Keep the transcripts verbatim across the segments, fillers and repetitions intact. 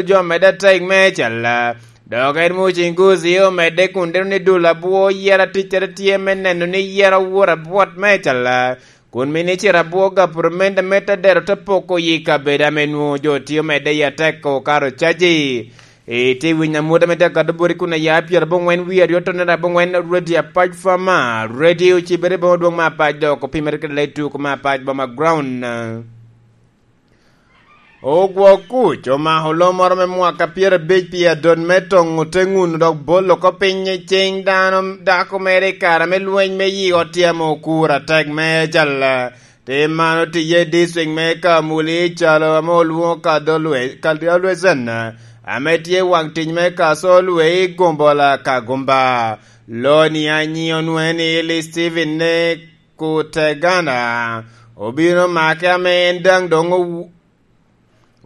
jo medde atek me calla. Dok en Mucinguzi omedde kun deno ni dul abwo yera ticcere tye me neno ni yera owot abwot me calla, kun mini ciro abwo gapurumende me te dero te poko yi kabedo ame nwoŋo jo tye omedde i atek okato caji. Itye winyo amut ame tye akato boti kun aya pyerabongwen wie aryo tonere abongwen, Radio Apac Fama, Radio Cibere boma dwong me Apac dok opimere kede letuk me Apac boma ground. Ogwok kuc omako lo moro me mwaka pyerabic pi adot me toŋo te ŋuno dok bolo oko piny i cing dano dako mere i kare me lweny me yi ot tye ame okuro atek me calla. Tim man otiye i dicrik me Kamuli calo ame olwoŋo Kadolwe-, Kadolwezen, ame tye waŋ tic me Kasolwe i Gombola Kagumba. Loni anyi onwene ni Eli Steven ne Kutegana obino make ame en daŋ doŋ owu-,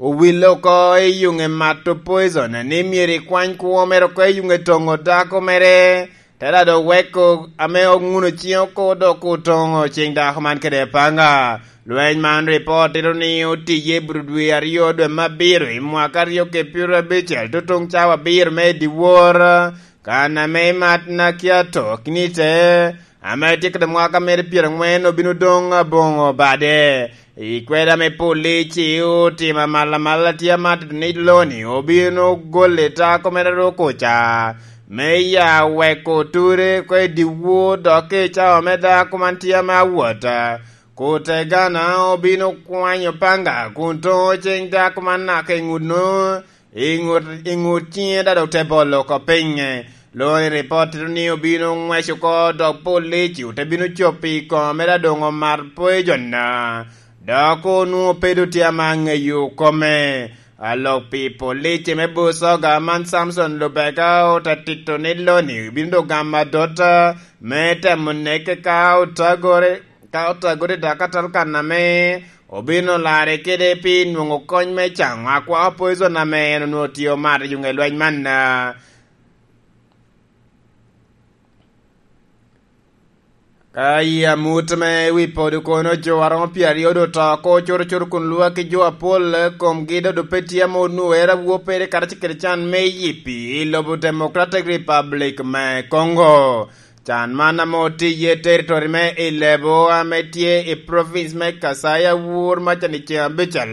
owille oko i yuŋe mato poison, ni myero ekwany kwo mere oko i yuŋe toŋo dako mere, te daŋ dok weko ame oŋuno ciŋe oko dok otoŋo ciŋ dako man kede apanga. Lweny man ripot tito ni otiye i Bududwe aryo dwe me abiro i mwaka aryo kede pyerabicel, tutuŋ cawa abiro me dyewor, kan ame i mat Nakiato Kinite, ame tye kede mwaka mere pyerangwen obino doŋ aboŋo bade. I kweda me polici otimo amalamal tye amat ni loni obino gole tako mere ruko ca, me ya weko ture oko i dyewor dok i cawa me dako man tye ame awot. Kutegana obino kwanyo panga kun toŋo ciŋ dako man naka i ŋutno, i ŋut, i ŋut ciŋe daŋ dok te bolo oko piny. Loni ripot tito ni obino ŋwec oko dok polici ote bino copo i kome mere adoŋo mar poison, dok onwoŋo pe doŋ tye ame aŋeyo kome. Alok pi polici me Busoga man Samson Lubega ote tito ni loni obino doŋ gamo adot me temo neke ka otagore, ka otagore dok atal kan ame obino larre kede pi nwoŋo kony me caŋo akwako poison ame en onwoŋo tye omato i yuŋe lweny man. Ka i amut me wi podo kono, jo aromo pyeraryo doŋ oto oko curucuru kun lwak ki jo apol komgi doŋ doŋ pe tye ame onwoŋo ero awopere karacel kede can me yipi i lobo Democratic Republic me Congo. Can man ame otiye i territory me Ilebo ame tye i province me Kasai Awur maca ni ceŋ abicel.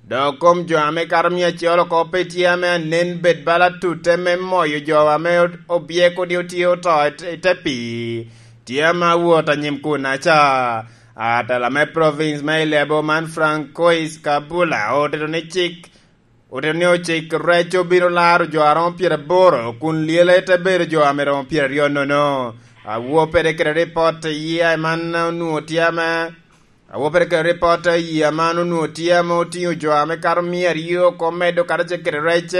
Dok kom jo ame kato mia acel oko pe tye ame anen bed bala tute me moyo jo ame obyeko ni otye oto i te pii. Tye ame awot anyim kunaca. Atela me province me Ilebo man Francois Kabula otito ni cik Otito ni ocik rec obino laro jo aromo pyeraboro, kun lyele te bedo jo ame romo pyeraryo nono. Awopere kede ripot i yia man onwoŋo tye ame, awopere kede ripot i yia man onwoŋo tye ame otingo jo ame kato mia aryo oko medo karacel kede rec,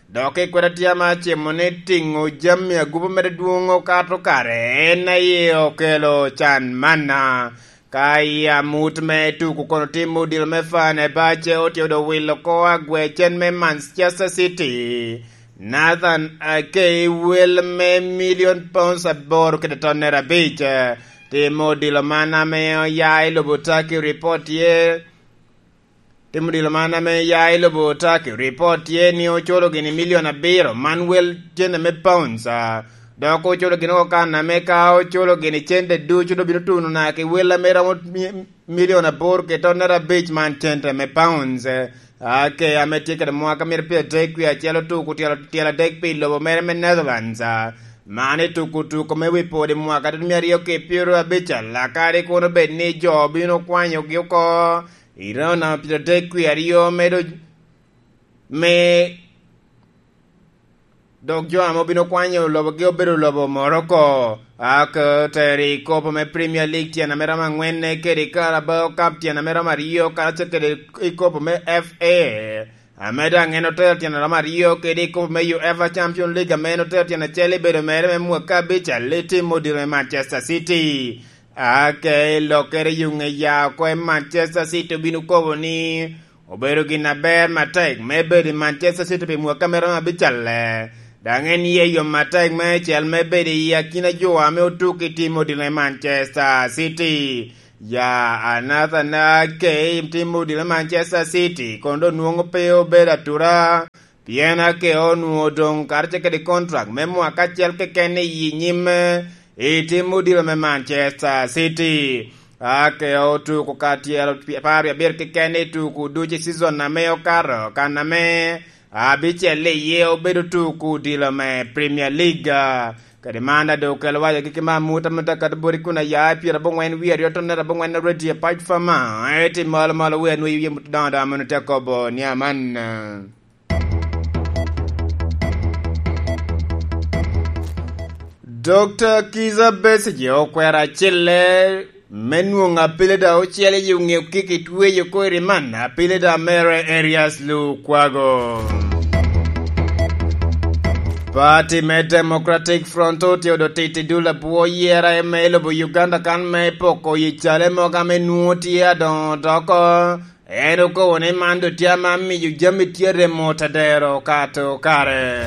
dok i kweda tye ame acimo ni tingo jami agubo mere dwoŋ okato kare en aye okelo can manna. Ka i amut me tuko kono tim odilo me Fenerbahce otye odo wilo oko agwecen me Manchester City, Nathan Ake, wel me milion pounds aboro kede tonnere abic. Tim odilo man ame oya i lobo Turkey ripot tye Tim odilo man ame ya i lobo Turkey, ripot tye ni oculo gini milion abiro, man wel cente me pounds, a, dok oculo gini oko kan ame ka oculo gini cente ducu, dok bino tuno naka ki wel ame romo mi-, milion aboro ki tonnere abic man cente me pounds. Ake ame tye kede mwaka myero pyero adek wie acel otuko tyel, tyel adek pi lobo mere me Netherlands, a, man i tuko tuko me wi pwod i mwaka tutu mia aryo ki pyero abic, a, lakadi kun obed ni jo bino kwanyogi oko. I raun namba pyero adek wie aryo me do-, me dok jo ame obino kwanyo lobogi obedo lobo Morocco. Ak otero i kopo me Premier League tyen ame romo angwenne kede Carabao Cup tyen ame romo aryo karacel kede i kopo me F A, ame daŋ en otero tyen ame romo aryo kede i kopo me UEFA Champions League ame en otero tyen acel i bedo mere me mwaka abic, a, Leti Modiro me Manchester City. Ake i lokkere yuŋ eya oko i Manchester City obino kobo ni obedo gin aber matek me bedo i Manchester City pi mwaka me romo abicalle. Daŋ en ye yom matek me cel me bedo i akina jo ame otuk i tim odilo i Manchester City. Ya, a Nathan Ake i tim odilo Manchester City, kono doŋ nwoŋo pe obedo atura, pien Ake onwoŋo doŋ karacel kede kontrak me mwaka acel keken i nyimme i tim odilo me Manchester City. Ake otuko ka tyero apar wie abiro keken i tuko ducu i season ame okato, kan ame abicel iye obedo tuko odilo me Premier League. Kadi man a doŋ okelo waco gigi me amut amut akato boti kun aya i pyerabongwen wie aryo tonnere abongwen a Radio Apac Fama. Eti malo malo wie anwoyo wie mut doŋo doŋo ameno te kobo ni aman. Dokta Kiza Besigye okwero acelle me nwoŋo apelida ocel i oŋeo kik i tweyo oko i riman apelida mere Erias Lukwago. Pati me Democratic Front otye odo titi dul abwo yera me lobo Uganda kan me poko yi cale mogo ame nwoŋo tye adoŋo doko. En okobo ni man doŋ tye ame amiyo jami tye remo tadero kato kare.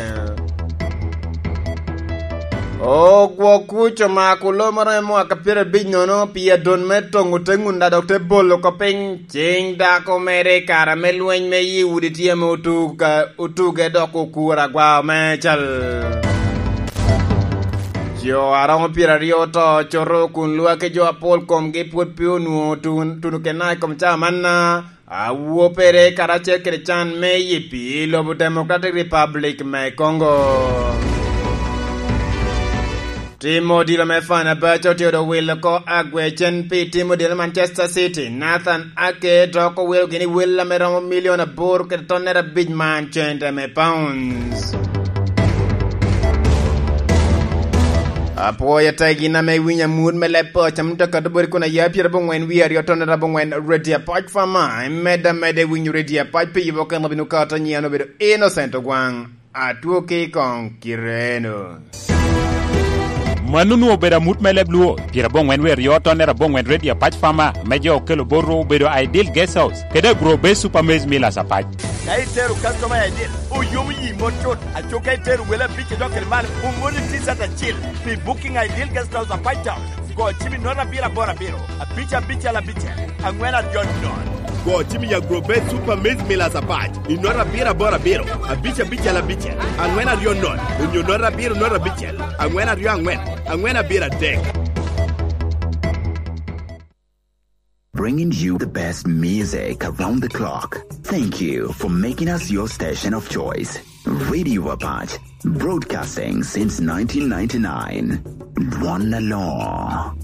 Ogwok kuc omako lo moro me mwaka pyerabic nono pi adon me toŋo te ŋunda dok te bolo oko piny. Cing dako mere i kare me lweny me yi udi tye ame otuge dok okuro agwao me cal. Jo aromo pyeraryo oto coto kun lwaki jo apol komgi pwod pe onwoŋo tun- tuno kena i kom caa manna. Awopere karacel kede can me yipi i lobo Democratic Republic me Congo. Tim odilo me Fenerbahce otye odo wilo oko agwecen pi tim odilo Manchester City. Nathan Ake dok owilo gini wel ame romo milion aboro kede tonnere abic man cente me pounds. Apwoyo tegi na me winyo amut me leb poc ame tye ka tubori kun aya pyerabongwen wie aryo tonnere abongwen Radio Apac Fama. Imedde ameda i winyo Radio Apac pi yubo keno bino kato nyian obedo Innocent Ogwaŋ. Atwoki koŋ kireno. Mano onwoŋo obedo amut me leb Luo, pyerabongwen wie aryo tonnere abongwen Radio Apac Fama, me jo okelo bot Rwo obedo Ideal Guest House, kede Agro Base Super Maize Millers Apac. Ka itero customer I D, oyomo yi mot cut. Aco ka itero wele abic i dok kede malo, omoni T-shirt acil. Pi booking Ideal Guest House Apac Town, go cim i nota abiro aboro abiro, abic abicel abicel, angwen aryo nono. Go cim i Agro Base Super Maize Millers Apac i nota abiro aboro abiro, abic abicel abicel, angwen aryo nono, onyo nota abiro nota abicel, angwen aryo angwen, angwen abiro adek. Bringing you the best music around the clock. Thank you for making us your station of choice. Radio Apac, broadcasting since nineteen ninety-nine. Dwon Alor.